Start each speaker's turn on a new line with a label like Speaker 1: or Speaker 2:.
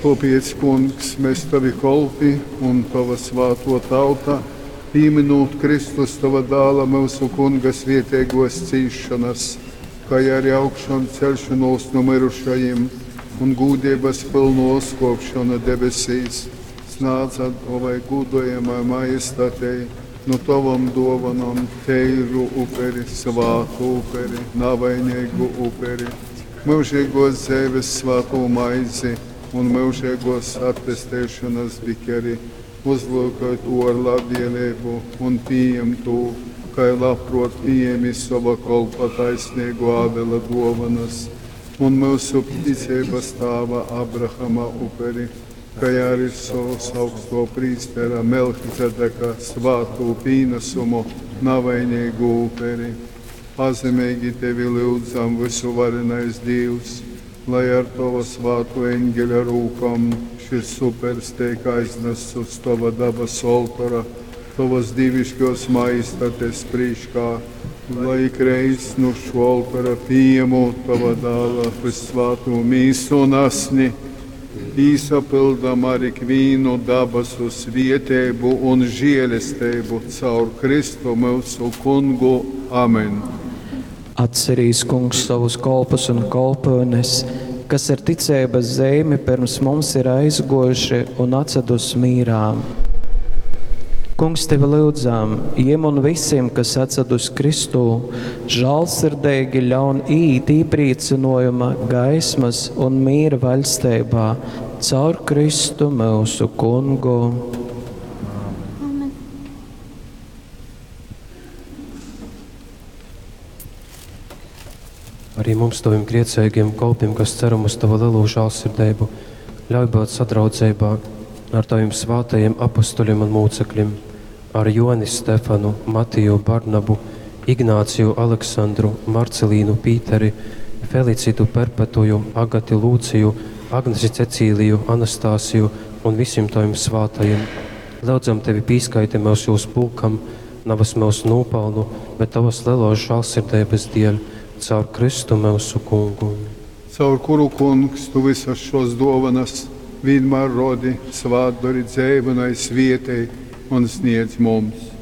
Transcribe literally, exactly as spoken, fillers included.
Speaker 1: Tōpēc, Kungs, mes tovi kolpi un tova svātō tauta, pīmynūt Kristus tova Dāla, myusu Kunga svēteigōs cīsšonas, kai ari augšanceļšonūs nu myrušajim un gūdeibas pylnu uzkōpšonu debesīs, snādzam tovai gūdojamai majestatei nu tovom dōvonom teiru uperi, svātu uperi, navaineigu uperi, myužeigōs dzeives svātū maizi un myužeigōs atpesteišonas bikeri. Uzlyukoj tū ar labvēleibu un pījem tū, kai labprōt pījēmi sova kolpa taisneigō Ābela dōvonas un myusu ticeibas tāva Abrahama uperi, kai arī sovas augstō prīstera Melchizedeka svātū pīnasumu, navaineigu uperi. Pazemeigi tevi lyudzam, vysuvarenais Dīvs, lai ar tova svātō eņgeļa rūkom šys upers teik aiznasts uz tova dabasu oltora, tovas dīviškōs majestates prīškā, lai ikreiz nu šo oltora pījemūt tova dāla vyssvātū mīsu un asni, īsapyldam ar ikvīnu dabasu svieteibu un žielesteibu caur Kristu myusu Kungu. Amen.
Speaker 2: Atcerīs, Kungs, savus kolpus un kolpyunes, kas ar ticeibas zeimi pirms mums ir aizguojuši un atsadus mīrā. Kungs, tevi lyudzam, jiem un visiem, kas atsadus Kristū, žālsirdīgi ļaun iet īpriecinojuma, gaismas un miera vaļsteibā caur Kristu mūsu Kungu.
Speaker 3: Amen.
Speaker 4: Arī mums, taviem grēcīgiem kolpiem, kas ceram uz tavu lielo žēlsirdību, ļauj būt sadraudzeibā ar taviem svētajiem apustuļiem un mūcekļiem, ar Joni Stefanu, Matiju Barnabu, Ignāciju Aleksandru, Marcelīnu Pīteri, Felicitu Perpetuju, Agati Lūciju, Agnesi Cecīliju, Anastasiju un visiem taviem svētajiem. Lūdzam tevi pīskaiti mūs jūs pulkam, navas mūsu nopelnu, bet tavas lielos žēlsirdības dēļ, caur Kristu mūsu Kungu.
Speaker 1: Caur kuru, Kungs, tu visas šos dovanas vienmēr rodi, svātdori dzeivu un svietei un sniedz mums.